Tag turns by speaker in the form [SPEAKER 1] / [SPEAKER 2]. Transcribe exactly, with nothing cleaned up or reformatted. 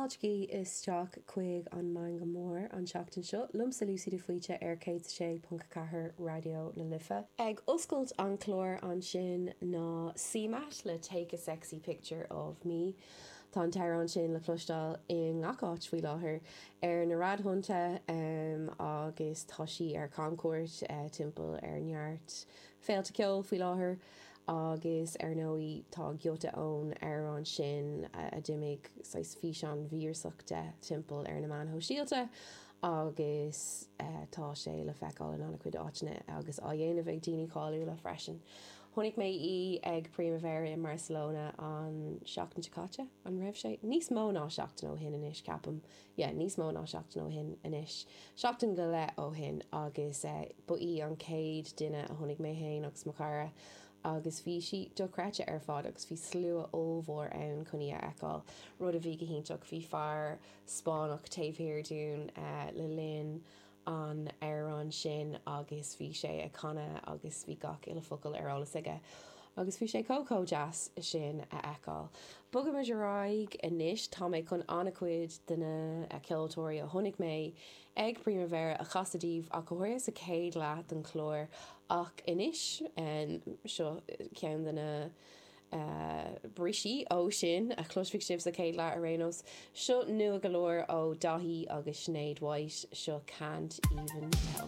[SPEAKER 1] Fáiltigí isteach chuig an Meangadh Mór an tseachtain seo, liomsa Lucy de Faoite ar céad sé ponc ceathair Raidió na Life. Ag oscailt an chlár ansin ná CMAT le Take a Sexy Picture of Me. Tá an t-amhrán sin le cloisteáil i ngach áit faoi láthair ar na raidiónna um, agus tá sí ar camchuairt uh, timpeall ar neart féilte ceoil faoi láthair agus ar ndóigh tá giota ón amhrán sin a d'imigh saghas físeán víreasach de timpeall ar na meáin shóisialta agus uh, tá sé le feiceáil in an-chuid áiteanna agus á dhéanamh ag daoine cáiliúla freisin. Chonaic mé í ag Primavera i Barcelona an seachtain seo caite an raibh sé níos mó ná seachtain ó shin anois ceapaim yeah, níos mó ná seachtain ó shin anois. Seachtain go leith ó shin agus uh, ba í an chéad duine a chonaic mé féin agus mo chara agus bhí sí dochreidte ar fad agus bhí slua ollmhór ann chun í a fheiceáil. Rud a bhí go hiontach bhí fear Spáinneach taobh thiar dúinn uh, le linn an amhrán sin agus bhí sé ag canadh agus bhí gach uile focal ar eolas aige. Agus bhí sé chomh deas sin a fheiceáil. Bogaimid ar aghaidh anois tá mé chun an-chuid de na ceoltóirí a chonaic mé ag Primavera a chasadh daoibh ach go háirithe sa chéad leath den chlár ach anois seo ceann de na uh, briseadh ó sin a chloisfidh sibh sa chéad leath ar aon nós. Seo nua go leor ó Daithí agus Sinéad White seo Can't Even Tell.